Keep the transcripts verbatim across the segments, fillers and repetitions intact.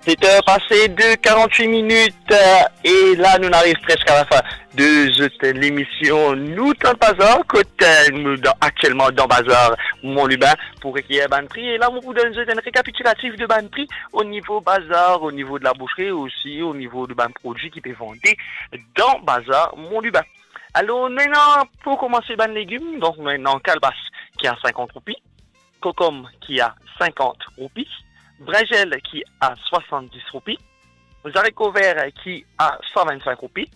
Seter pase de karant-wit minit, eh, e la nou ariv preske a lafin de zot lemision Nou Tann Bazar, kot, eh, nou dan, aktielman dan bazar Mont Lubin pou rekeyer bann pri. E la mo pou donn zot enn rekapitilatif de bann pri o nivo bazar, o nivo de laboushri, osi o nivo de bann prodwi ki pe vande dan bazar Mont Lubin. Alor, nou ena pou koumanse bann legim, donk nou ena kalbas ki a sinkant roupi, kokom ki a sinkant roupi, brinzel ki a swasanndis roupi, zariko ver ki a san vinn-sink roupi,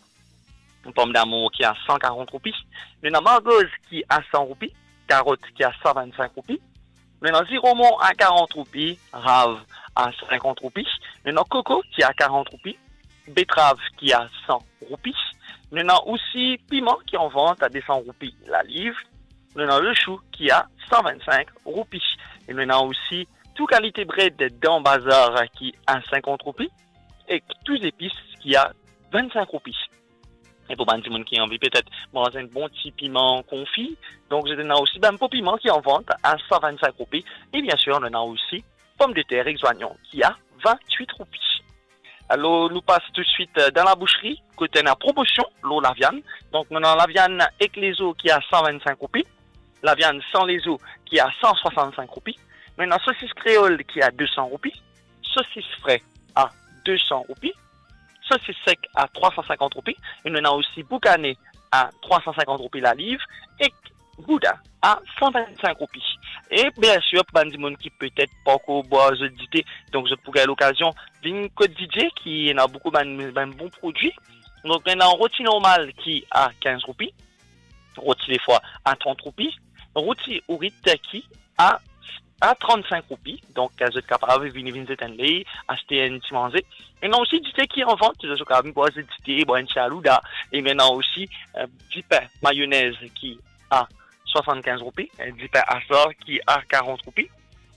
pomdamour ki a san karant roupi, nou ena margoz ki a san roupi, karot ki a san vinn-sink roupi, nou ena ziromon a karant roupi, rav a sinkant roupi, nou ena koko ki a karant roupi, betrav ki a san roupi, nou ena osi piman ki an vant a de san roupi laliv, nou ena lechou ki a san vinn-sink roupi, e nou ena osi tou kalite bred dan bazar ki a sinkant roupi, ek tou zepis ki a vinn-sink roupi. E pou bann dimoun ki anvi petet manz enn bon ti piman konfi, donk zot ena osi bann po piman ki an vant a san vinn-sink roupi, e biensir nou ena osi pomdeter ek zwanyon ki a vinn-wit roupi. Alor, nou pas toutswit, eh, dan laboushri, kot ena promosion lor laviann. Donk, nou ena laviann ek lezo ki a san vinn-sink roupi, laviann san lezo ki a san swasann-sink roupi, nou ena sosis kreol ki a de san roupi, sosis fre a de san roupi, sosis sek a trwa san sinkant roupi, e nou ena osi boukane a trwa san sinkant roupi laliv, ek gouda a san vinn-sink roupi. E biensir, pou bann dimoun ki petet pankor bwar zot dite, donk zot pou gagn lokazion vinn kot Didier, ki ena boukou bann, bann bon prodwi. Donk, nou ena roti normal ki a kinz roupi, roti lefwa a trant roupi, roti ourit ki a, a trant-sink roupi. Donk, zot kapav vini, vinn zet enn ley, aste enn ti manze. E nou ena osi dite ki an vant, zot kapav vinn bwar zot dite, bwar enn ti alouda. E nou ena osi, eh, dipin mayonez ki a swasann-kinz roupi, eh, dipin asar ki a karant roupi,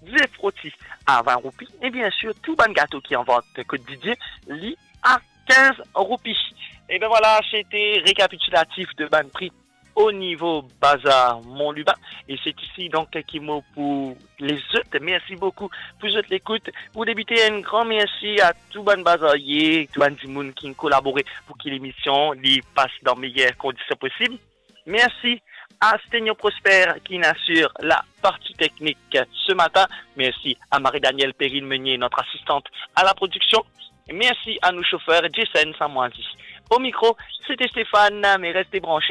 dizef roti a vinn roupi, e biensir, tou bann gato ki an vant kot Didier, li a kinz roupi. E ben vwala, sete rekapitilatif de bann pri o nivo bazar Mont Lubin. E se isi donk ki mo pou les zot. Mersi boukou pou zot lekout. Pou debite, enn gran mersi a tou bann bazarie, tou bann dimoun ki kolabore pou ki lemision li pas dan meyer kondision posib. Mersi a Stenio Prosper ki inn asir la parti teknik se matin. Mersi a Marie-Danielle Perrine Meunier, notre assistante à la production. Mersi a nou sofer Jason Samwazi. O mikro, sete Stéphane, me reste branche